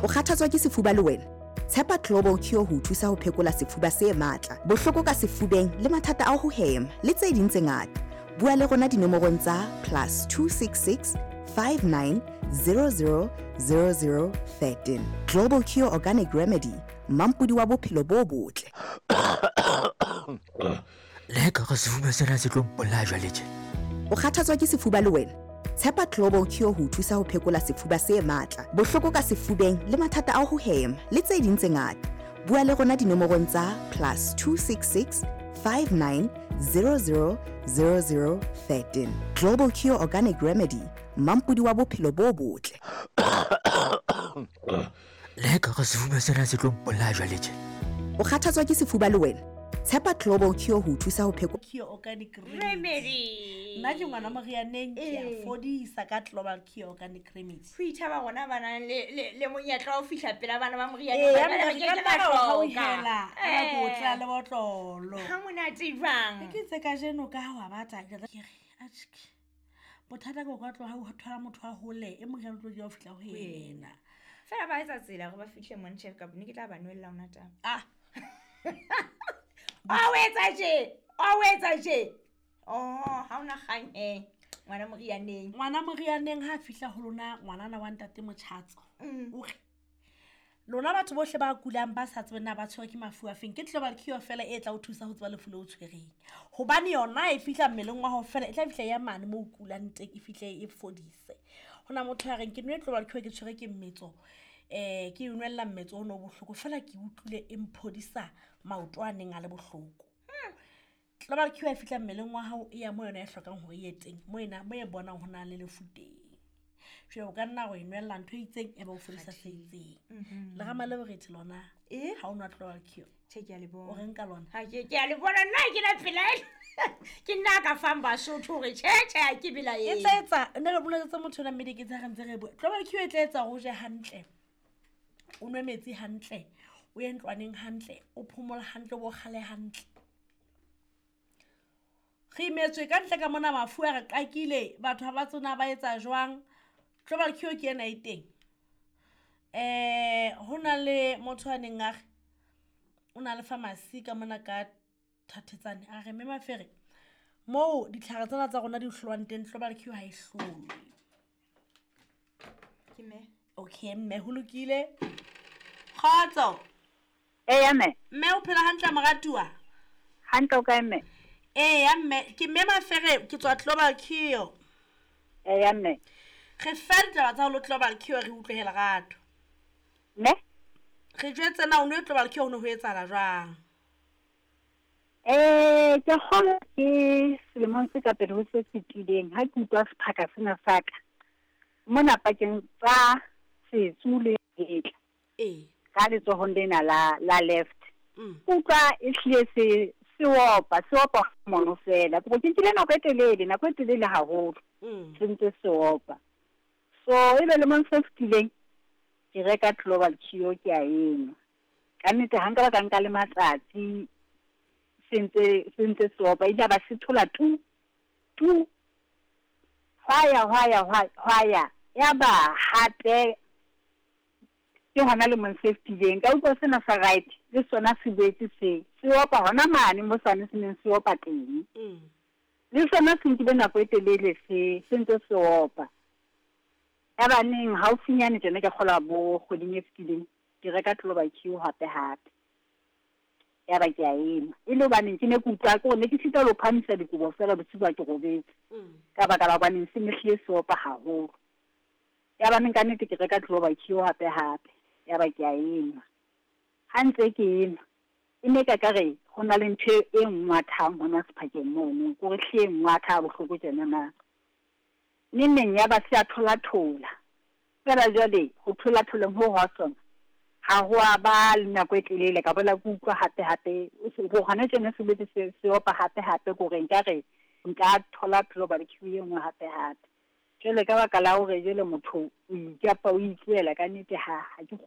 O kgathatswa ke sefuba le wena? Tshepa Global Cure ho o thusa ho phekola sefuba se matla, bohloko ka sefubeng le mathata a ho hema le tse ding tse ngata. Bua le rona dinomorong tsa +266 59 00 00 13. Global Cure Organic Remedy, mampodi wa bophelo bo botle. Le ka re sefuba sena se tlo mpolaya jwale tje. O kgathatswa ke sefuba le wena? Tshepa Global Cure ho o thusa ho phekola sefuba se matla, bohloko ka sefubeng le mathata a ho hema le tse ding tse ngata. Bua le rona dinomorong tsa +266 59 00 00 13. Global Cure Organic Remedy, mampodi wa bophelo bo botle. Le ka re sefuba sena se tlo mpolaya jwale tje. O kgathatswa ke sefuba le wena? Tshepa Global Cure ho o thusa ho phekola Cure Organic Remedy. Remedy. Nna ke ngwana morianeng ke a Ee. fodisa ka Global Cure Organic Remedy. Ho ithaba rona ba nang le, le, le monyetla wa ho fihla pela bana ba moriana. Ee, Ba ya ba mme ke re ka ke nna ra o hloka. hauhela, ra ko Eh. tla le botlolo. Ha monate jwang? Ke itse kajeno ka ha wa bata ke re atjhe. Bothata ke o ka tloha o thola motho wa hole e moriana o tlo dieha ho fihla ho yena. Fela ba etsa tsela hore ba fihle mone tjhe ka ne ke tla ba nwella ona taba. Ah, O etsa tje. O etsa tje. Oh, ha ona kgang eh. Ngwana morianeng. Ngwana morianeng ha a fihla ho lona ngwanana wa ntate Motjhatso. O re lona batho bohle ba kulang ba sa tsebeng na ba tshwerwe ke mafu a feng, ke Global Cure fela e tla o thusa ho tseba lefu le o tshwereng. Hobane yona e fihla mmeleng wa hao fela, e tla fihla ya mane moo o kulang teng, e fihle e fodise. Ho na motho ya reng ke nwe Global Cure ke tshwerwe ke mmetso, ke e nwella mmetso ono o bohloko fela ke utlwile e mphodisa maoto a neng a le bohloko. Global Cure e fihla mmeleng wa hao e ya mo yona e hlokang hore e ye teng, mo ena mo e bonang ho na le lefu teng. Jwale o ka nna wa e nwella ntho e itseng e ba o fodisa se itseng. Lerama le borethe lona Eh? ha o nwa Global Cure. Tjhe ke a le O bona. reng ka lona? Ha ke a le bona nna ha ke na pelaelo. Ke nna a ka fang Basotho hore tjhe tjhe ha ke E belaele. tla etsa nne re boleletse motho ona mme diketse ha re ntse re bua. Global Cure e tla etsa hore o je hantle, o nwe metsi hantle, o ye ntlwaneng hantle, o phomole hantle, o bo kgale hantle. Re imetswe ka ntle ka mona mafu a re qakile, batho ha ba tsona ba etsa jwang. Global Cure ke ena e teng. Ho na le motho a neng a re o na le pharmacy ka mona ka Thathetsane, a re mme Mafere moo ditlhare tsena tsa rona di hlolwang teng Global Cure ha e hlolwe. Ke mme. Okay mme, ho lokile. Kgotso. Eya mme. Mme o phela hantle moratuwa? Hantle o kae mme? Eya mme, ke mme Mafere ke tswa Global Cure. Eya mme. Re fe ditaba tsa ho lo Global Cure re utlwe he lerato. Mme? Re jwetse na o nwe Global Cure ho ne ho etsahala jwang? Ke kgolwa ke selemong se ka pele ho se fetileng ha ke utlwa sephaka sena sa ka mona pakeng tsa setsu le hetla. Ee. Ka letsohong lena la left. Mm. Ke utlwa e hlile se opa, se opa mono fela. Ke nkile nako e telele, nako e telele haholo. Mm. Se ntse se opa. So ebe lemong se fetileng ke reka Global Cure ke a enwa. Ka nnete ha nka ba ka nka le matsatsi se ntse se opa, ile ba se thola tu tu. Hwa ya, hwa ya, hwa ya. Ya ba hape ke hona lemong se fetileng ka utlwa sena sa right le sona se boetse se opa hona mane mo sane se neng se opa teng. Mm. Le sona se nkile nako e telele se ntse se opa. Ya ba neng haufinyane tjena ke kgolwa bo kgweding e fetileng ke reka Global Cure hape hape. Ya ba ke a enwa. E le hobaneng ke ne ke utlwa ke hore ne ke sitwa le ho phahamisa dikobo fela bosiu ha ke robetse. Mm. Ka baka la hobaneng se ne hlile se opa haholo. Ya ba neng ka nnete ke reka Global Cure hape hape. Ya ba ke a enwa. Ha ntse ke enwa, e ne ka re ho na le ntho e ngwathang hona sephakeng mono, ke hore hle e ngwatha ha bohloko tjena na. Neng neng ya ba se a thola-thola. Feela jwale ho thola-tholeng ho hwa sona, ha ho a ba le nako e telele ka boela ke utlwa hape hape, ho hona tjena se boetse se opa hape hape, ke hore nkare nka thola Global Cure e nngwe hape hape. Jwale ka baka la hore jwale motho o ikapa o itlohela ka nnete ha ke kgone.